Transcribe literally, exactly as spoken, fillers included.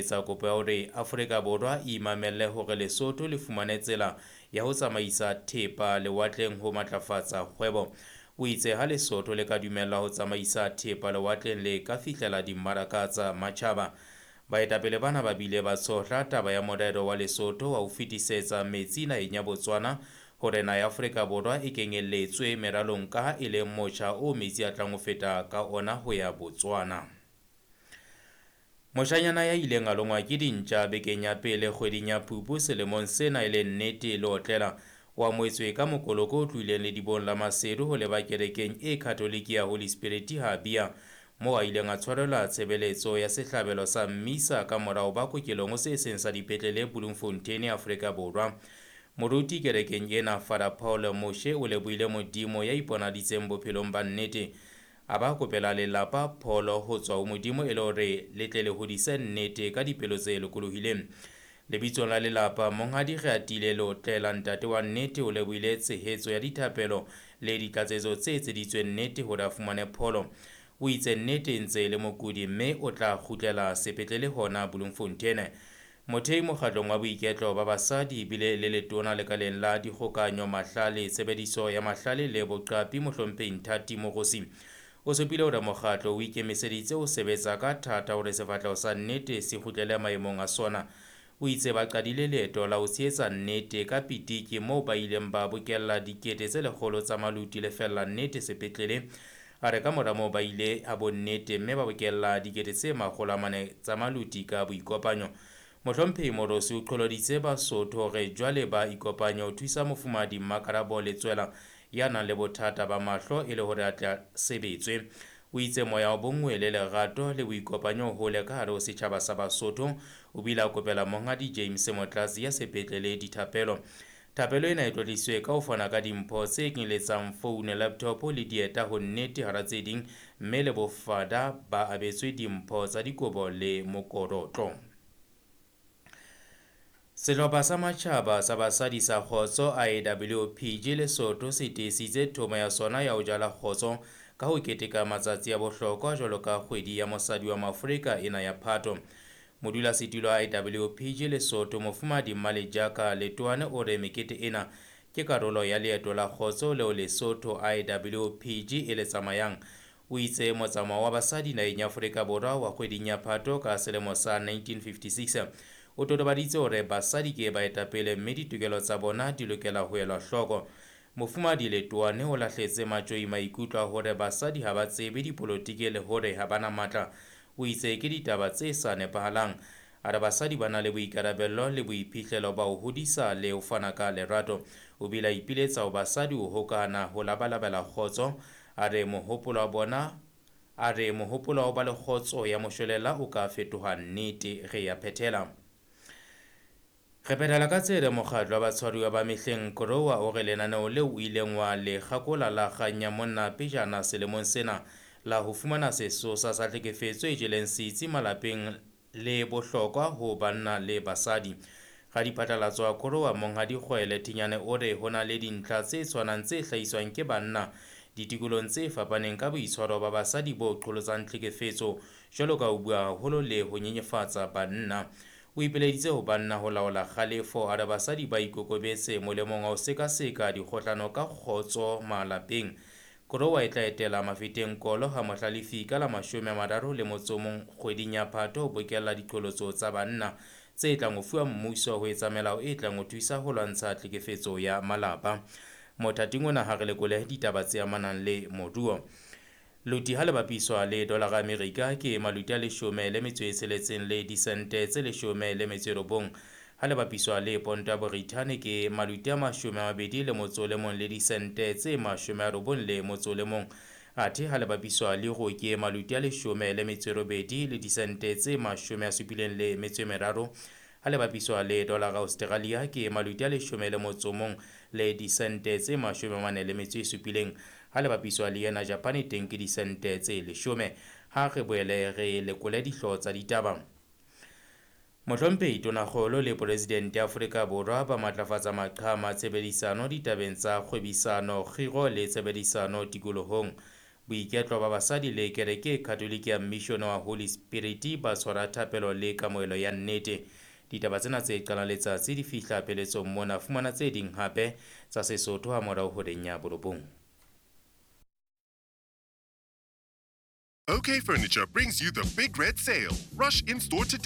etsa kopo ya hore Afrika Borwa e imamelle hore Lesotho le fumane tsela ya ho tsamaisa thepa lewatleng ho matlafatsa kgwebo. O itse ha Lesotho le ka dumellwa ho tsamaisa thepa lewatleng le ka fihlela dimmaraka tsa matjhaba. Baetapele bana ba bile ba tshohla taba ya morero wa Lesotho wa ho fetisetsa metsi naheng ya Botswana hore naha ya Afrika Borwa e kenyelletswe meralong ka e leng motjha o metsi a tlang ho feta ka ona ho ya Botswana. Moshanyana ya ileng a longwa ke dintja bekeng ya pele kgweding ya Phupu selemong sena e le Nnete Leotlela o amohetswe ka mokoloko o tlohileng ledibong la Maseru ho leba kerekeng e Katholike ya Holy Spirit ha Bia, moo a ileng a tshwarelwa tshebeletso ya sehlabelo sa mmisa ka morao ba kokelong ho se seng sa dipetlele Bloemfontein, Afrika Borwa. Moruti kerekeng ena Father Paul Moshe o lebohile Modimo ya iponaditseng bophelong ba Nnete, a ba kopela lelapa pholo ho tswa ho Modimo e le hore le tle le hodise Nnete ka dipelo tse lokolohileng. Lebitsong la lelapa, Monghadi Reatile Leotlela, ntate wa Nnete, o lebohile tshehetso ya dithapelo le ditlatsetso tse etseditsweng Nnete hore a fumane pholo. O itse Nnete e ntse e le mokudi mme o tla kgutlela sepetlele hona Bloemfontein. Mothei mokgatlong wa boiketlo ba basadi ebile le letona lekaleng la dikgokanyo, mahlale, tshebediso ya mahlale le boqapi, mohlomphehi Nthati Mogosi o supile hore mokgatlo o ikemiseditse ho sebetsa ka thata hore sefahleho sa Nnete se kgutlele maemong a sona. O itse ba qadile leeto la ho tshehetsa Nnete ka pitiki moo ba ileng ba bokella dikete tse lekgolo tsa maluti lefella Nnete sepetlele. A re ka mora moo ba ile a bo Nnete mme ba bokella dikete tse makgolo a mane tsa maluti ka boikopanyo. Mohlomphehi Morosi o qholoditse Basotho hore jwale ba ikopanye ho thusa mofumahadi Mmakarabo Letswela ya nang le bothata ba mahlo e le hore a tle sebetswe. O itse moya wa bonngwe le lerato le boikopanyo ho hole ka hare ho setjhaba sa Basotho. O bile a kopela Monghadi James Motlatsi ya sepetlele dithapelo. Thapelo ena e tlotliswe ka ho fana ka dimpho tse kenyeletsang phone, laptop le dieta ho Nnete hara tse ding, mme le bofada ba abetswe dimpho tsa dikobo le mokorotlo. Sehlopha sa matjhaba sa basadi sa kgotso I W P G Lesotho se tiisitse thomo ya sona ya ho jala kgotso ka ho keteka matsatsi a bohlokwa jwalo ka kgwedi ya mosadi wa Maafrika ena ya Phato. Modulasetulo wa I W P G Lesotho Mofumahadi Mmalejaka Letoane o re mekete ena ke karolo ya leeto la kgotso leo Lesotho I W P G e le tsamayang. O itse motsamao wa basadi naheng ya Afrika Borwa wa kgweding ya Phato ka selemo sa nineteen fifty-six o totobaditse hore basadi ke baetapele mme ditokelo tsa bona di lokela ho elwa hloko. Mofumahadi Letoane o lahletse matjoi maikutlo a hore basadi ha ba tsebe dipolotiki le hore ha ba na matla. O itse ke ditaba tse sa nepahalang. A re basadi ba na le boikarabello le boiphihlelo ba ho hodisa le ho fana ka lerato. O bile a ipiletsa ho basadi ho hokahana ho labalabela kgotso. A re mohopolo wa bona, a re mohopolo wa ho ba le kgotso ya moshwelella o ka fetoha nnete. Re ya phethela. Re phethela ka tsela mokgatlo wa batshwaruwa ba mehleng Korowa o re lenaneo leo o ileng wa le kgakola la kgang ya monna pejana selemong sena la ho fumana sesosa sa tlhekefetso e jeleng setsi malapeng le bohlokwa ho banna le basadi. Radiphatlalatso wa Korowa Monghadi Kgwele Thinyane o re ho na le dintlha tse tshwanang tse hlahiswang ke banna ditikolong tse fapaneng ka boitshwaro ba basadi bo qholotsang tlhekefetso jwalo ka ho bua haholo le ho nyenyefatsa banna. O ipileditse ho banna ho laola kgalefo, a re basadi ba ikokobetse molemong wa ho sekaseka dikgohlano ka kgotso malapeng. Korowa e tla etela Mafeteng Kolo ha Mohlalefi ka la mashome a mararo le motso o mong kgweding ya Phato ho bokella diqholotso tsa banna tse tlang ho fuwa mmuso ho etsa melao e tlang ho thusa ho lwantsha tlhekefetso ya malapa. Mothating ona ha re lekole ditaba tse amanang le moruo. Loti ha le bapiswa le dolara Amerika ke maluti a leshome le metso e tsheletseng le disente tse leshome le metso e robong. Ha le bapiswa le ponto ya Borithane ke maluti a mashome a mabedi le motso o le mong le disente tse mashome a robong le motso o le mong. Athe ha le bapiswa le euro ke maluti a leshome le metso e robedi le disente tse mashome a supileng le metso e meraro. Ha le bapiswa le dolara Australia ke maluti a leshome le motso o mong le disente tse mashome a mane le metso e supileng. Ha le bapiswa le yena Japane teng ke disente tse leshome. Ha re boele re lekole dihlooho tsa ditaba. Mohlomphehi Tonakgolo le Presidente ya Afrika Borwa ba matlafatsa maqhama a tshebedisano ditabeng tsa kgwebisano, kgiro le tshebedisano tikolohong. Boiketlo ba basadi le kereke e Katolike ya Mission wa Holy Spirit ba tshwara thapelo le kamohelo ya nnete. Ditaba tsena tse qalang letsatsi di fihla pheletsong mona. Fumana tse ding hape tsa Sesotho ha morao horeng ya borobong. OK Furniture brings you the Big Red Sale. Rush in store today.